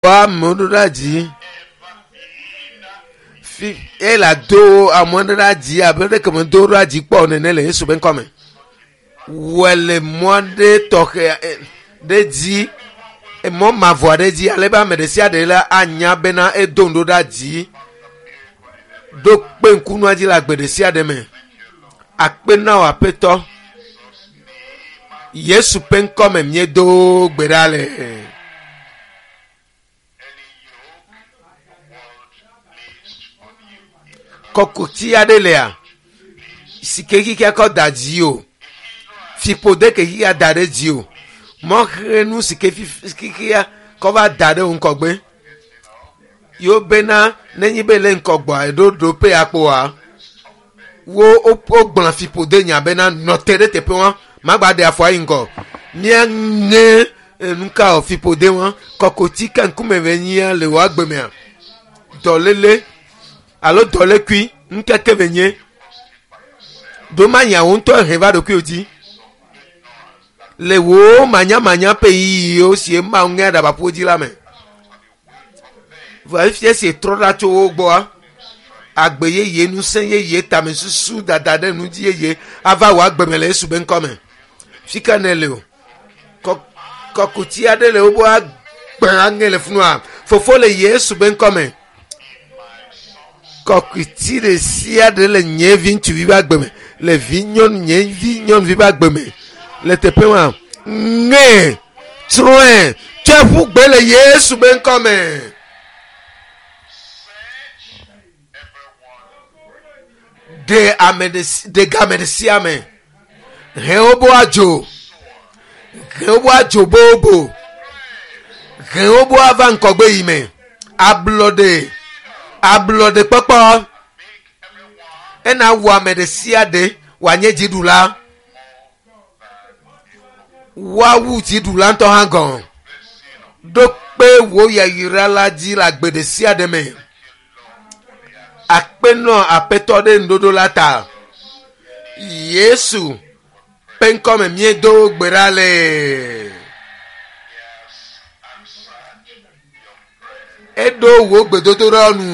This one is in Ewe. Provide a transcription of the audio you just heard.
amewo ɖo ɖe dzi. Fi eye le ado amewo ɖe ɖe dzi abe ɖeke me do ɖe dzi kpɔ nene le Yesu be ŋkɔme. Wɔe le mɔ aɖe tɔxɛ ɖe dzi mɔ mavɔ aɖe dzi ale be ame ɖe sia ɖe la anya bena edo nu ɖo ɖe dzi ɖo kpe ŋkunua dzi le agbe ɖe sia ɖe me. Akpe na wò aƒetɔ. Yesu ƒe ŋkɔme míedo gbe ɖa le. Kɔkuti aɖe lea si ke xixia kɔ da dzi o. Fiƒode ke xixia da ɖe dzi o. Mɔxenu si ke xixia kɔ va da ɖe wo ŋgɔgbe. Yewo bena nenye be le ŋgɔgbea eɖo ɖoƒe ya kpoa wo wogblɔ fiƒode nya bena nɔ te ɖe teƒe wa magba ɖe afɔ ayi ŋgɔ. Míaŋe nuka o fiƒode wa kɔkuti ke ŋkume ve nyia le wò agbe mea dɔléle alo dɔlékui ŋkeke ve nye ɖo manya wo ŋutɔ he va ɖokuiwò dzi le wò manyamanya ƒe ɣeyiɣiwo si Mawu ŋe aɖabaƒo dzi la me. Vɔ efia si trɔ ɖa tso wo gbɔa, agbe yeye, ŋusẽ yeye, tamesusu dada ɖe nu dzi yeye ava wò agbe me le Yesu be ŋkɔ me. Fi ka ne le o? Kɔkuti aɖe le wobe agbe aŋe le funua. Fofo le Yesu be ŋkɔ me. Kɔkuti ɖe sia ɖe le nye vi ŋutsuvi ƒe agbe me, le vi nyɔnu nye vi nyɔnuvi ƒe agbe me le teƒe ma. Ŋe, tsrɔ̃e, tsɔe ƒu gbe le Yesu be ŋkɔ me. Ɖe ame ɖe ɖe game ɖe sia me. He wobo adzo. He wobo adzo bobo. He wobo ava ŋkɔgbe yi me. Ablɔɖe. Ablɔɖe kpɔkpɔ. Ena wɔ ame ɖe sia ɖe wòanye dziɖula. Woawu dziɖula ŋutɔ hã gɔ̃. Ɖo kpe wò yayra la dzi le agbe ɖe sia ɖe me. Akpe nɔ aƒetɔ ɖe nuɖoɖo la ta. Yesu ƒe ŋkɔme míedo gbe ɖa le. Eɖo wò gbedodoɖa nu.